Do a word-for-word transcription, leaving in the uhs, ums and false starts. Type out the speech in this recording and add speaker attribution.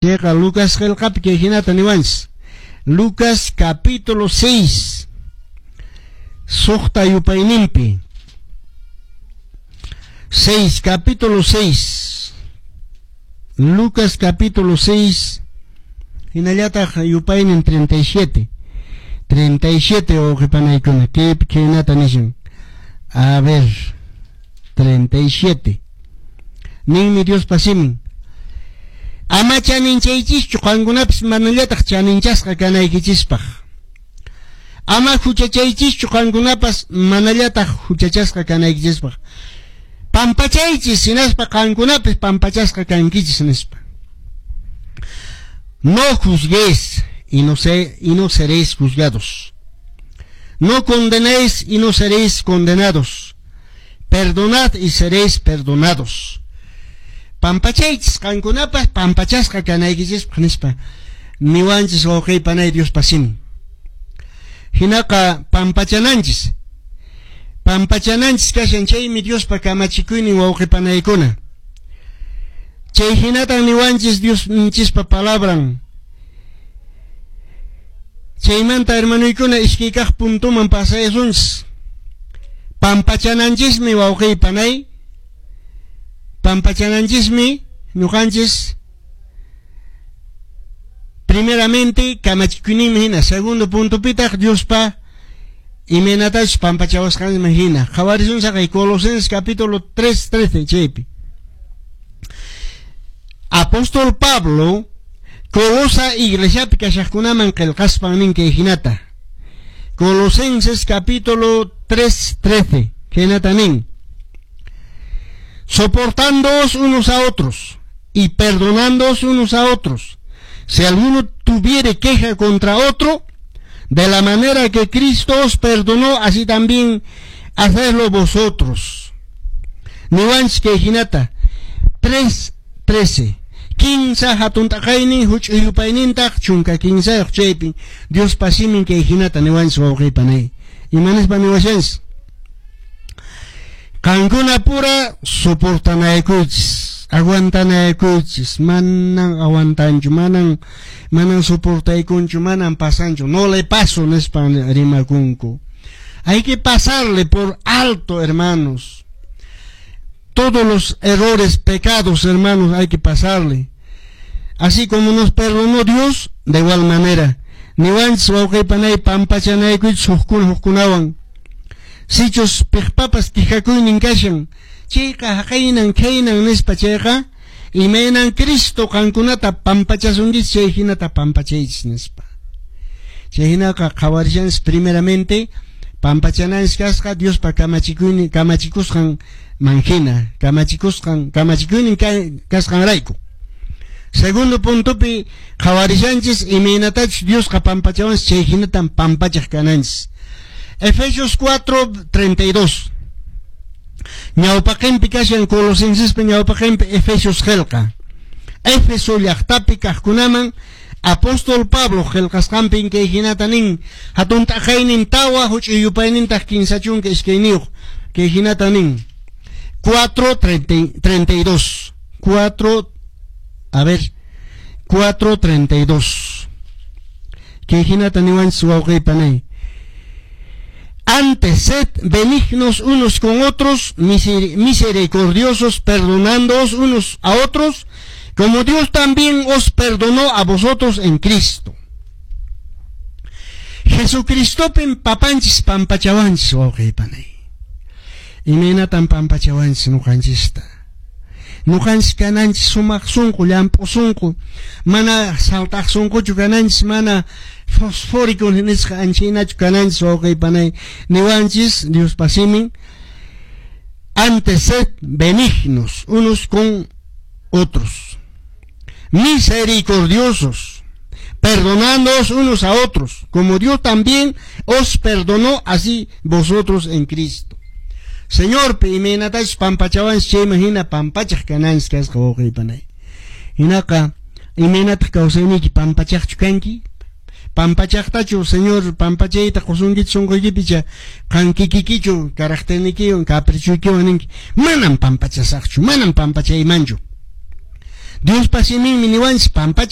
Speaker 1: Chayqa Lucas qillqapi kay hinata niwanchis. Lucas capítulo seis. Suqta yupayninpi. seis, capítulo seis. Lucas capítulo seis. Hinallataq yupaynin treinta y siete. treinta y siete, wawqipanaykuna. Kaypi khaynata nishan. A ver, treinta y siete. Ninmi Diospa simin: "Ama chaninchaychischu, qankunapis manallataq chaninchasqa kanaykichispaq. Ama huchachaychischu, qankunapas manallataq huchachasqa kanaykichispaq. Pampachaychis, hinaspa qankunapis pampachasqa kankichis", nispa. No juzguéis y no, se, y no seréis juzgados. No condenéis y no seréis condenados. Perdonad y seréis perdonados. Pampachaychis, qankunapas pampachasqa kanaykichispaq, nispa niwanchis, wawqi panay, Diospa simin. Hinaqa pampachananchis. Pampachananchis kashan, chaymi Diospa kamachikuynin, wawqi panaykuna. Chay hinatan niwanchis Diosninchispa palabran. Chaymanta, hermanoykuna, iskay kaq puntoman pasayasunchis. Pampachananchismi, wawqi panay. Pampachananchismi ñuqanchis primeramente kamachikuyninmi hina, segundo puntopitaq Diospa imaynatachus pampachawasqanman hina. Qhawarisun saqay Colosenses capítulo tres, trece chaypi. Apóstol Pablo Colosa iglesiapi kashaqkunaman qillqaspan nin kay hinata. Colosenses capítulo tres, trece, khaynata nin: "Soportándoos unos a otros y perdonándoos unos a otros, si alguno tuviere queja contra otro, de la manera que Cristo os perdonó, así también hacedlo vosotros". Niwanchis kay hinata tres, trece. Kinsa hatun t'aqaynin, huch'uy yupaynintaq chunka kinsayuq, chaypi Diospa simin kay hinata niwanchis, wawqi panay. Imanispa niwashanchis? Qankuna pura soportanayakuychis, aguantanayakuychis. Manan aguantanchu, manan manan soportaykunchu, manan pasanchu, no le paso nispa rimakunku. Hay que pasarle por alto, hermanos. Todos los errores, pecados, hermanos, hay que pasarle. Así como nos perdonó Dios, de igual manera. Niwanchis, wawqi panay, pampachanayakuychis hukkuna hukkunawan. Sichus piqpapas quejakuynin kashan, chayqa haqaynan khaynan nispa chayqa, imaynan Cristo qankunata pampachasunkichis, chay hinata pampachaychis nispa. Chay hinaqa qhawarishanchis primeramente pampachananchis kasqa Diospa kamachikuynin kamachikusqan manhina, kamachikusqan kamachikuynin kasqanrayku. Segundo puntopi qhawarishanchis imaynatachus Diosqa pampachawanchis, chay hinatan pampachaq kananchis. Efesios cuatro, treinta y dos. Ñawpaqinpi kashan Colosensespa ñawpaqinpi Efesios qillqa. Éfeso llaqtapi kaqkunaman apóstol Pablo qillqasqanpin kay hinata nin, hatun t'aqaynin tawa, huch'uy yupaynintaq kinsa chunka iskayniyuq, kay hinata nin. cuatro, treinta y dos. cuatro, a ver, cuatro, treinta y dos. Kay hinata niwanchis, wawqi panay: "Antes, sed benignos unos con otros, misericordiosos, perdonándoos unos a otros, como Dios también os perdonó a vosotros en Cristo". Jesucristopin papanchis pampachawanchis, wawqi panay. Imaynatan pampachawanchis ñuqanchista? Ñuqanchis kananchis sumaq sunqu, llamp'u sunqu, mana saltaq sunquchu kananchis, mana fosfórico nisqa anchaynachu kananchis, wawqi panay. Niwanchis Diospa simin: "Antes sed benignos unos con otros, misericordiosos, perdonándoos unos a otros, como Dios también os perdonó, así vosotros en Cristo". Señor imaynatachus pampachawanchis chayman hina pampachaq kananchis kasqa, wawqi panay. Hinaqa imaynataq kawsayniyki? Pampachaqchu kanki? Pampachaqtachu Señor pampachayta qusunkichu sunquykipicha qan kikikichu caracternikiwan caprichoykiwan ninki: "Manam pampachasaqchu, manam pampachaymanchu"? Diospa siminmi niwanchis pampachaq